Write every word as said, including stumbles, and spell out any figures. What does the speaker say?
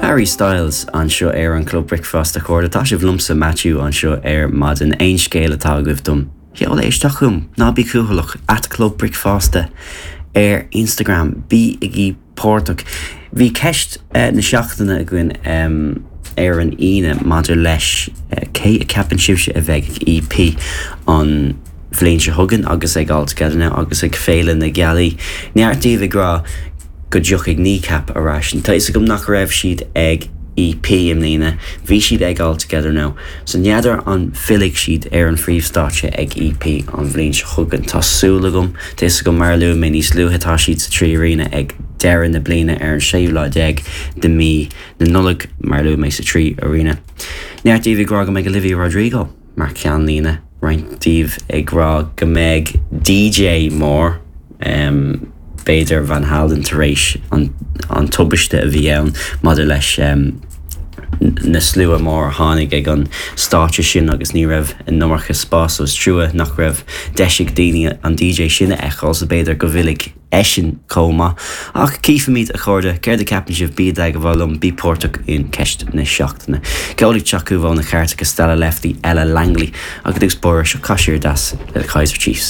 Harry Styles anseo ar an Club Bricfeasta, a chairde. Tá sibh liomsa, Matthew, anseo ar maidin. Aon scéal atá agaibh dom, seol é isteach chugam, ná bí cúthaileach, at Club Bricfeasta ar Instagram. Bígí páirteach. Bhí ceist uh, na seachtaine againn um, ar an Aoine maidir leis uh, cé a cheapann sibhse a bheidh ag E P an bhliain seo chugainn agus ag All Together Now agus ag Féile na Gealaí. Neart díobh ag rá go dtiocfaidh Kneecap ar ais. Tá fhios agam nach raibh siad ag E P i mbliana, bhí siad ag All Together Now. So n'fheadar an bhfillfidh siad ar an phríomhstáitse ag E P an bhliain seo chugainn. Tá súil agam. Tá fhios agam, mar a luaigh mé níos luaithe, tá siad sa Trí Arena ag deireadh na bliana ar an séú lá déag de mí na Nollag, mar a luaigh mé, sa Trí Arena. Neart díobh ag rá go mbeidh Olivia Rodrigo mar cheannlíne, roinnt díobh ag rá go mbeidh D J mór, um, b'fhéidir Van Halen, tar éis an, an tubaiste a bhí ann maidir leis um, na slua mór a tháinig ag an stáitse sin agus ní raibh an iomarca spás, is trua nach raibh deis ag daoine an D J sin a fheiceáil, so b'fhéidir go bhfillfidh eisean chomh maith. Ach cífimid, a chairde, céard a cheapann sibh. Bí i dteagmháil liom, bí páirteach in ceist na seachtaine. Ceol ag teacht ó na cairteacha, Stella Lefty, Ella Langley, agus agus bóir seo Cashier Das le Kaiser Chiefs.